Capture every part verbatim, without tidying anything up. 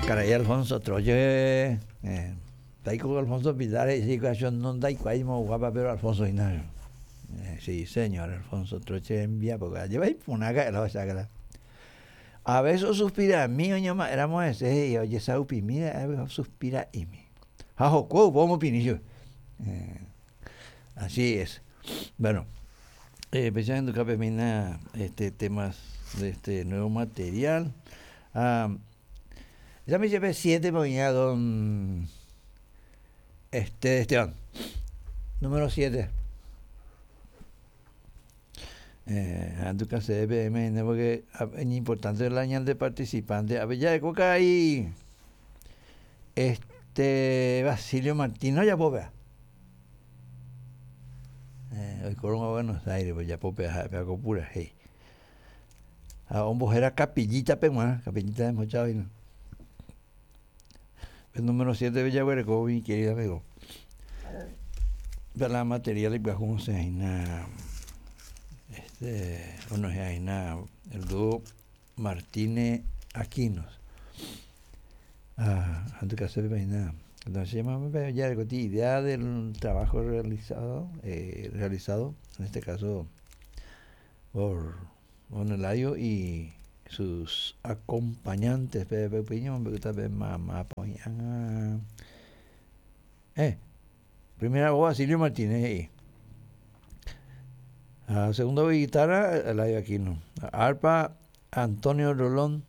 Karai Alfonso Troche, eh, taiko Alfonso Pilar, sí, no ndaikuái moõguápa, pero Alfonso hína. Eh, sí, señor, Alfonso Troche envía, porque lleva ipunaca la osácala. A veces suspira a mí, oñoma, éramos ese, y oye, saupimi, suspira y mi. Jajo, ¿cómo pinillo? Eh, así es. Bueno, eh, pensando que mina este temas de este nuevo material. Ah, ya me llevé siete mañana, don este Esteban. Número siete. Eh, antes C B M, porque es importante el año de participante. A ver, ya de coca ahí. Este Basilio Martínez, ya puedo ver. Eh, hoy Corona Buenos Aires, pues ya puedo ver, pura, hey. A un era Capillita Pemua, Capillita de Mochávino. El número siete de Villahuereco, mi querido amigo. De la material y pues se este, bueno, el dúo Martínez Aquinos. Ah, antes que hacer nada. Entonces se llama ya idea del trabajo realizado, eh, realizado, en este caso por don Eladio y sus acompañantes. Eh, primera voz Basilio Martínez. Ah, segunda guitarra, Eladio Aquino. Arpa, Antonio Rolón.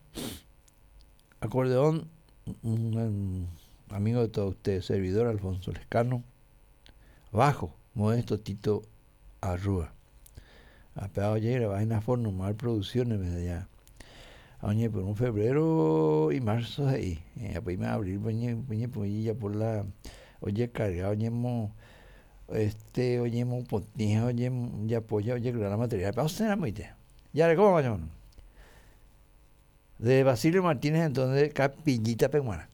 Acordeón, un, un amigo de todos ustedes, servidor Alfonso Lescano. Bajo, Modesto Tito Arrúa. Apegado llega, vaina a formar producciones desde allá. Oye, por un febrero y marzo ahí. Eh, pues abril, oye, pues ya por la. Oye, cargado, oye, mo, este, oye, mo, potija, oye, ya polla, oye, la material. Pero usted era muy te. Ya, ¿cómo va? De Basilio Martínez, entonces, Capillita Peguana.